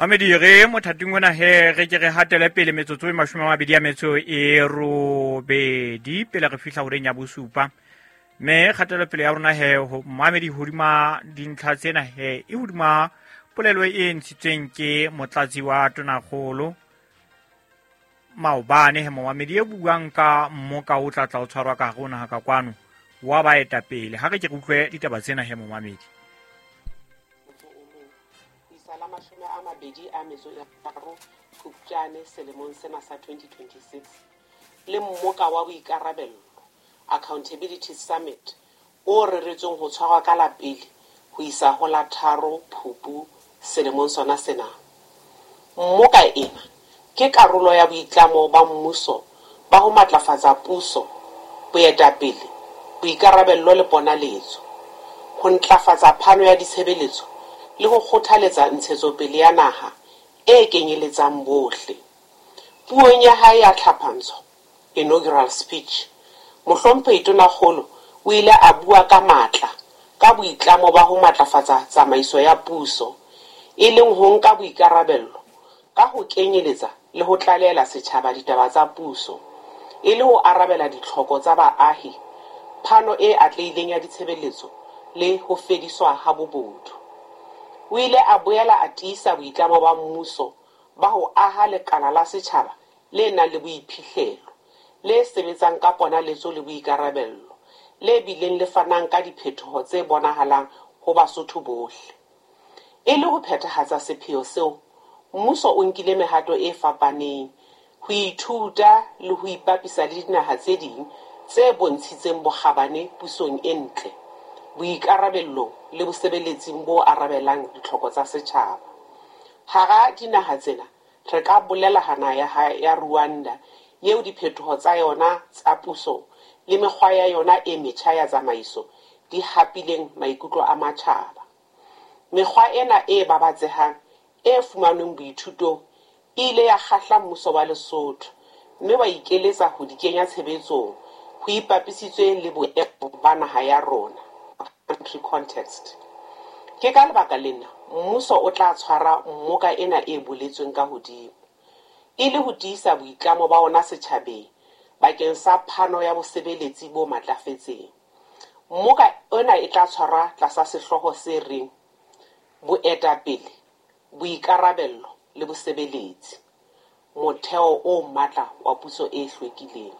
Mamedi, re mothating ona he re ke re hatele pele metsotso e 28 pele re fihla horeng ya 7. Mme kgatelopele ya rona he mamedi hodima dintlha tsena he e hodima polelo e ntshitsweng ke motlatsi wa tonakgolo maobane he momamedi e buang ka mmoka o tla tla o tshwarwa ka hare ho naha ka kwano wa baetapele. Ha re ke re utlwe ditaba tsena he momamedi. La 23 Phupjane selemong sena sa 2026 le mmoka wa boikarabello Accountability Summit o reretsweng ho tshwarwa ka la 1 ho isa ho la 3 Phupu selemong sona sena. Mmoka ena ke karolo ya boitlamo ba mmuso ba ho matlafatsa puso, boetapele, boikarabello le ponaletso, ho ntlafatsa phano ya ditshebeletso le ho kgothaletsa ntshetsopele ya naha e kenyeletsang bohle. Puong ya hae ya tlhaphantsho, inaugural speech, Mohlomphehi Tonakgolo o ile a bua ka matla ka boitlamo ba ho matlafatsa tsamaiso ya puso, e leng ho nka boikarabello ka ho kenyeletsa le ho tlalehela setjhaba ditaba tsa puso, e le ho arabela ditlhoko tsa baahi, phano e atlehileng ya ditshebeletso le ho fediswa ha bobodu. O ile a boela a tiisa boitlamo ba mmuso ba ho aha lekala la setjhaba le nang le boiphihlelo, le sebetsang ka ponaletso le boikarabello, le bileng le fanang ka diphetoho tse bonahalang ho Basotho bohle. E le ho phethahatsa sepheo seo, mmuso o nkile mehato e fapaneng ho ithuta le ho ipapisa le dinaha tse ding tse bontshitseng bokgabane pusong e ntle, boikarabellong le bosebeletsing bo arabelang ditlhoko tsa setjhaba. Hara dinaha tsena re ka bolela ha naha ya Rwanda eo diphetoho tsa yona tsa puso le mekgwa ya yona e metjha ya tsamaiso di hapileng maikutlo a matjhaba. Mekgwa ena e babatsehang e fumanweng boithutong e ile ya kgahla mmuso wa Lesotho mme wa ikeletsa ho di kenya tshebetsong ho ipapisitswe le boemo ba naha ya rona, country context. Ke ka lebaka lena mmuso o tla tshwara mmoka ena e boletsweng ka hodimo, e le ho tiisa boitlamo ba ona setjhabeng bakeng sa phano ya bosebeletsi bo matlafetseng. Mmoka ona e tla tshwarwa tlasa sehlooho se reng Boetapele, Boikarabello le Bosebeletsi, motheo o matla wa puso e hlwekileng.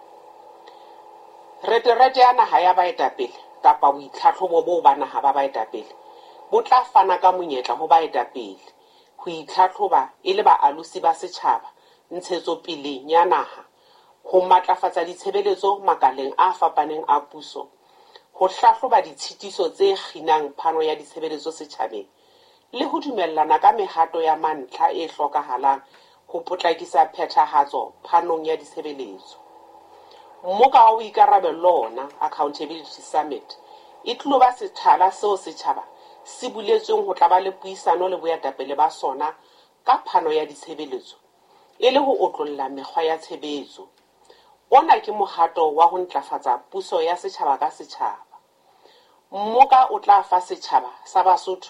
Reterete ya naha ya baetapele kapa boitlhatlhobo boo ba naha ba baetapele bo tla fana ka monyetla ho baetapele ho itlhatlhoba e le baalosi ba setjhaba ntshetsopeleng ya naha, ho matlafatsa ditshebeletso makaleng a fapaneng a puso, ho hlahloba ditshitiso tse kginang phano ya ditshebeletso setjhabeng le ho dumellana ka mehato ya mantlha e hlokahalang ho potlakisa phethahatso phanong ya ditshebeletso. Mmoka wa boikarabello ona, Accountability Summit, e tlilo ba sethala seo setjhaba se buletsweng ho tla ba le puisano le boetapele ba sona ka phano ya ditshebeletso e le ho otlolla mekgwa ya tshebetso. Ona ke mohato wa ho ntlafatsa puso ya setjhaba ka setjhaba. Mmoka o tla fa setjhaba sa Basotho